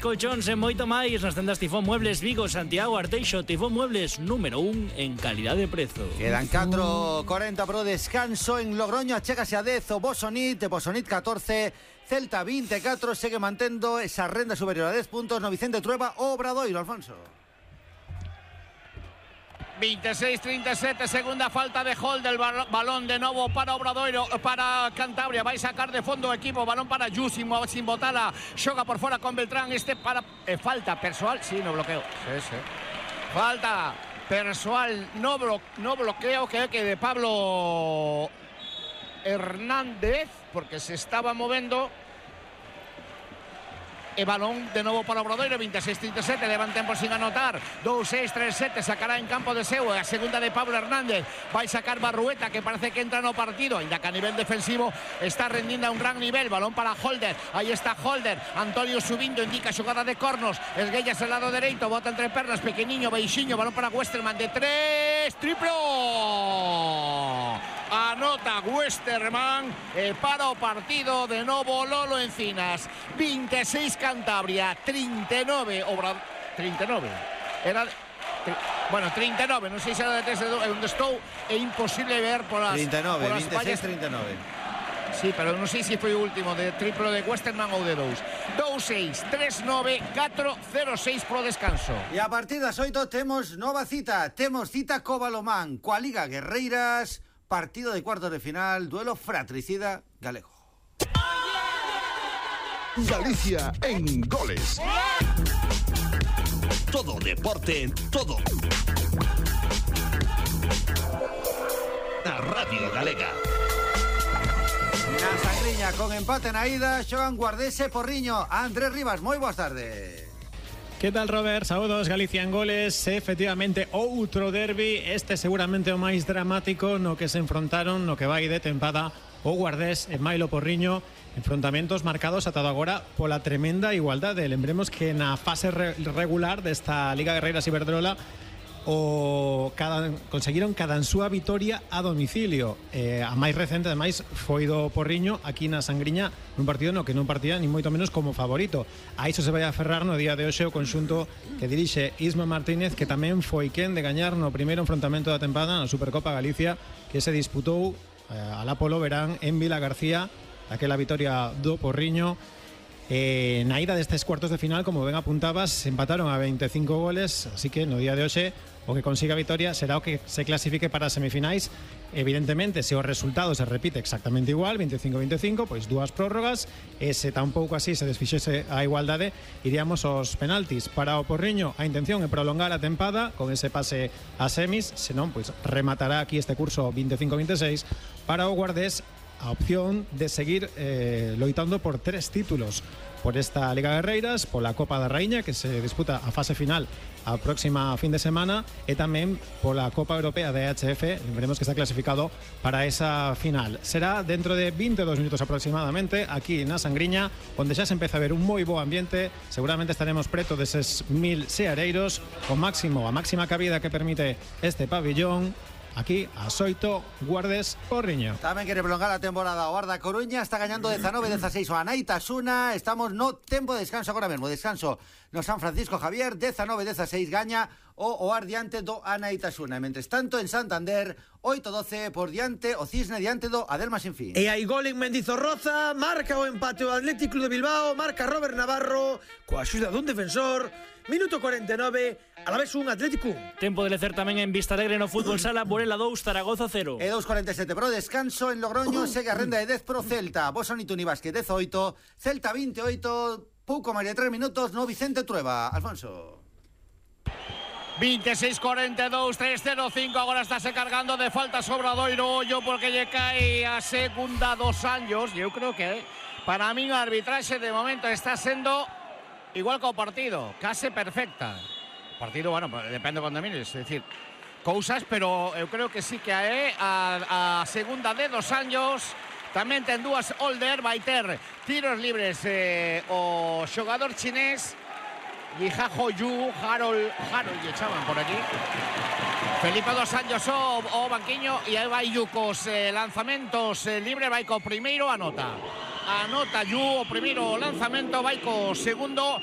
colchóns e moito máis nas tendas Tifón Muebles Vigo, Santiago, Arteixo. Tifón Muebles, número 1 en calidad de prezo. Quedan 4:40 pro descanso en Logroño. Achégase a 10 o Bosonit 14, Celta 24, segue mantendo esa renda superior a 10 puntos no Vicente Trueba o Obradoiro, Alfonso. 26-37, segunda falta de Holder, balón de novo para Obradoiro, para Cantabria, vai sacar de fondo o equipo, balón para Yu, sin botala, xoga por fora con Beltrán, para falta persoal, sí, no bloqueo, sí. Falta persoal, no bloqueo, que de Pablo Hernández, porque se estaba movendo. E balón de novo para Obradoiro, 26-37, levan tempo sin anotar, 2-6-3-7, sacará en campo de seu, a segunda de Pablo Hernández, vai sacar Barrueta, que parece que entra no partido, ainda que a nivel defensivo está rendindo a un gran nivel, balón para Holder, aí está Holder, Antonio subindo, indica xogada de cornos, esguellas al lado dereito, bota entre pernas, pequeniño, beixiño, balón para Westerman de 3, triplo! Anota Westerman, para o partido de novo Lolo Encinas, 26 Cantabria, 39 39 era 39, non sei se era de 3 onde estou, é imposible ver por as 39, por as 26-39. Sí, pero non sei se foi o último de triplo de Westerman ou de 2-6, 3-9, 4-0-6 pro descanso. E a partir das 8 temos nova cita, co Balomán, coa Liga Guerreiras, partido de cuartos de final, duelo fratricida galego. Galicia en goles. Todo deporte, todo. Na Radio Galega. Na Sangriña, con empate na ida, xogan Guardés e Porriño. Andrés Rivas, moi boas tardes. Que tal, Robert? Saúdos, Galicia en goles. Efectivamente, outro derbi. Este seguramente o máis dramático no que se enfrontaron no que vai de tempada o Guardés e Mailo Porriño. Enfrontamentos marcados atado agora pola tremenda igualdade. Lembremos que na fase regular desta Liga Guerreiras Iberdrola conseguiron cada súa vitoria a domicilio. A máis recente, ademais, foi do Porriño aquí na Sangriña, nun partido no que non partía ni moito menos como favorito. A iso se vai a aferrar no día de hoxe o conxunto que dirixe Isma Martínez, que tamén foi quen de gañar no primeiro enfrontamento da tempada na Supercopa Galicia, que se disputou alá polo verán en Vila García, aquela vitoria do Porriño. Na ida destes cuartos de final, como ben apuntabas, empataron a 25 goles, así que no día de hoxe o que consiga a vitoria será o que se clasifique para as semifinais. Evidentemente, se o resultado se repite exactamente igual, 25-25, pois dúas prórrogas, e se tampouco así se desfixese a igualdade, iríamos aos penaltis. Para o Porriño, a intención é prolongar a tempada con ese pase a semis, senón, pois rematará aquí este curso 25-26. Para o Guardés, a opción de seguir loitando por 3 títulos, por esta Liga Guerreiras, pola Copa da Raíña, que se disputa a fase final a próxima fin de semana, e tamén pola Copa Europea de EHF. Veremos que está clasificado para esa final. Será dentro de 22 minutos aproximadamente, aquí na Sangriña, onde xa se empeza a ver un moi bo ambiente. Seguramente estaremos preto deses 1000 seareiros, a máxima cabida que permite este pabillón. Aquí, a 8, Guardés Porriño. Tamén quere prolongar a temporada o Arda Coruña, está gañando 19-16 o Anaitasuna. Estamos no tempo de descanso agora mesmo. Descanso no San Francisco Javier, 19-16 gaña o Oar diante do Anaitasuna. Mentres tanto, en Santander, 8-12 por diante o Cisne diante do Adelma Sinfín. E hai gol en Mendizorroza, marca o empate o Atlético Club de Bilbao, marca Robert Navarro, coa axuda dun defensor. Minuto 49, a la vez un Atlético. Tempo de lecer tamén en Vista Alegre no fútbol sala, Burela 2, Zaragoza 0. E 2:47 pro descanso en Logroño, segue a renda de 10 pro Celta. Bosonit Unibasque 18, Celta 28, pouco máis de 3 minutos no Vicente Trueba. Alfonso. 26-42, 3-0-5, agora estáse cargando de falta Obradoiro, ollo porque lle cae a segunda 2 años. Eu creo que para min a arbitraxe de momento está sendo igual que o partido, case perfecta. O partido, bueno, depende cando mires, é dicir, cousas, pero eu creo que sí que a segunda de 2 años tamén ten dúas Holder, vai ter tiros libres o xogador chinés Yihajo Yu, Harold lle chaman por aquí. Felipe 2 años o banquiño, e aí vai Yu cos lanzamentos libre, vai co primeiro, anota Yu o primeiro lanzamento, vai co segundo,